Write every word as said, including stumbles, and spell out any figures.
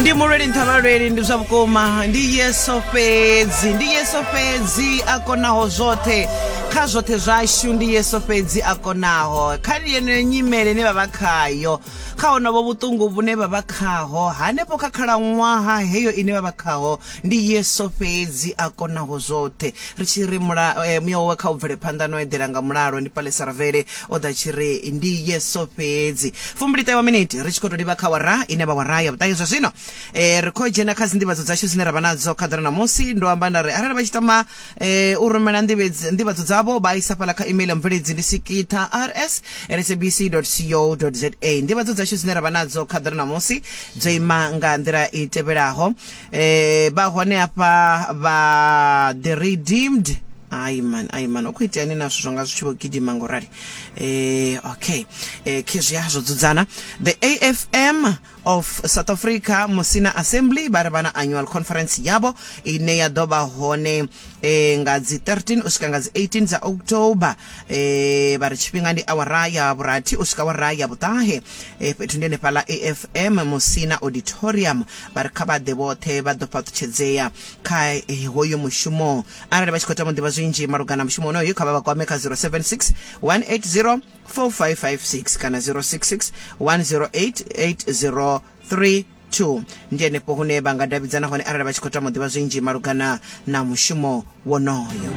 Ndi mulweli nṱha vhalweli, ndi zwa vhukuma, ndi Yesu fhedzi, ndi Yesu fhedzi a konaho zwoṱhe kha zwoṱhe zwashu, ndi Yesu fhedzi a konaho kha yeneyo nyimele ine vha vha khayo, kha honovho vhuṱungu vhune vha vha khaho hanefho kha khalaṅwaha heyo ine vha vha khaho, ndi Yesu fhedzi a konaho zwoṱhe. Ri tshi ri mula, eh, muya wawe kha u bvele phanḓa no eḓela nga mulalo. Ndi Palesa Ravele o ḓa tshi ri ndi Yesu fhedzi. Fumbili wa miniti ri tshi khou tou livha kha wara ine vha wara ya vhuṱahe zwa zwino. eh, ri khou dzhena kha dzinḓivhadzo dzashu dzine ra vha nadzo kha ḓuvha ṋamusi. Ndo amba nda ri arali vha tshi tama eh, u rumela nḓivhedzi- nḓivhadzo dzavho, vha isa fhaḽa kha email ya mubveledzi, ndi sikitha rs sabc co za. Nḓivhadzo dzashu dzine ra vha nadzo kha ḓuvha ṋamusi dzo ima nga nḓila i tevhelaho. eh, vha hone hafha vha The Redeemed. Ai man, ai man, u khou iteani na zwithu zwanga zwi tshi vho gidima ngo rali? eh, okay eh, khezwiya zwo dzudzana. The A F M of South Africa Musina Assembly vha ri vha na annual conference yavho ine ya ḓo vha hone eh, nga dzi thirteen u swika nga dzi eighteen dza October. eh, vha ri tshifhinga ndi awara ya vhurathi u swika awara ya vhuṱahe. eh, fhethu ndi henefhaḽa A F M Musina Auditorium. Vha ri kha vha ḓe vhoṱhe, vha ḓo fhaṱutshedzea kha eh, hoyo mushumo. Arali vha tshi khou tama u ḓivha zwinzhi malugana na mushumo wonoyu, kha vha vha kwame kha zero seven six one eight zero four five five six kana zero six six one zero eight eight zero three two. Ndi henefho hune vha nga davhidzana hone arali vha tshi khou tama u ḓivha zwinzhi malugana na mushumo wonoyo.